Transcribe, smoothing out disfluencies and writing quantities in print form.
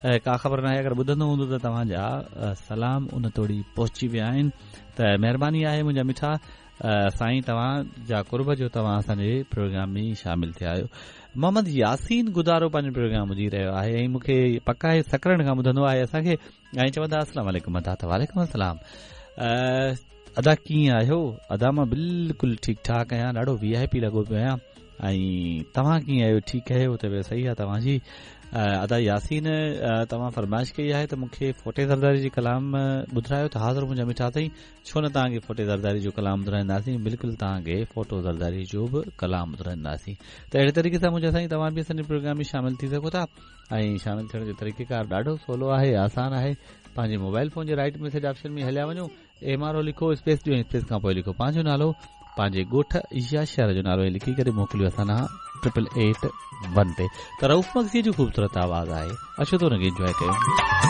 ڪا خبر ناهي اگر ٻڌندو هوندو ته توهان جا سلام ان توڙي پهچي ويا آهن ته مهرباني آهي منهنجا مٺا سائين توهان جا قرب جو توهان اسان جي پروگرام ۾ شامل ٿيا آهيو. محمد ياسين گدارو پنهنجو پروگرام ٻڌي رهيو آهي ۽ مون کي پڪ آهي سڪرنڊ کان ٻڌندو آهي اسان کي ۽ چوندا السلام عليڪم ادا ته وعليڪم السلام ادا ڪيئن آهيو ادا مان بلڪل ٺيڪ ٺاڪ آهيان ڏاڍو وي آء پي لڳو پيو آهيان ۽ توهان ڪيئن آهيو ٺيڪ آهيو طبيعت صحيح آهي توهان جي ادا ياسين توهان فرمائش ڪئي آهي ته مون کي ڦوٽي زرداري جي ڪلام ٻڌرايو ته حاضر منهنجا مٺا سائين ڇو نه توهان کي ڦوٽي زرداري جو ڪلام ٻڌرائينداسين بلڪل توهان کي ڦوٽو زرداري جو به ڪلام ٻڌرائينداسين ته اهڙي طريقي سان منهنجا سائين توهان به اسان جي پروگرام ۾ شامل ٿي سگهو ٿا ۽ شامل ٿيڻ جو طريقه ڪار ڏاڍو سولو آهي آسان آهي پنهنجي موبائل فون جي رائٽ ميسيج آپشن ۾ هليا وڃو ايم آر او لکو اسپيس ڏيو اسپيس کان پوء لکو پنهنجو نالو پنهنجي ڳوٺ يا شهر جو نالو لکي ڪري موڪليو اسان ڏانهن ٽرپل ايٽ ون تي ته رئوف مگسي جو خوبصورت آواز آهي اچو ته ان کي انجوائي ڪيون.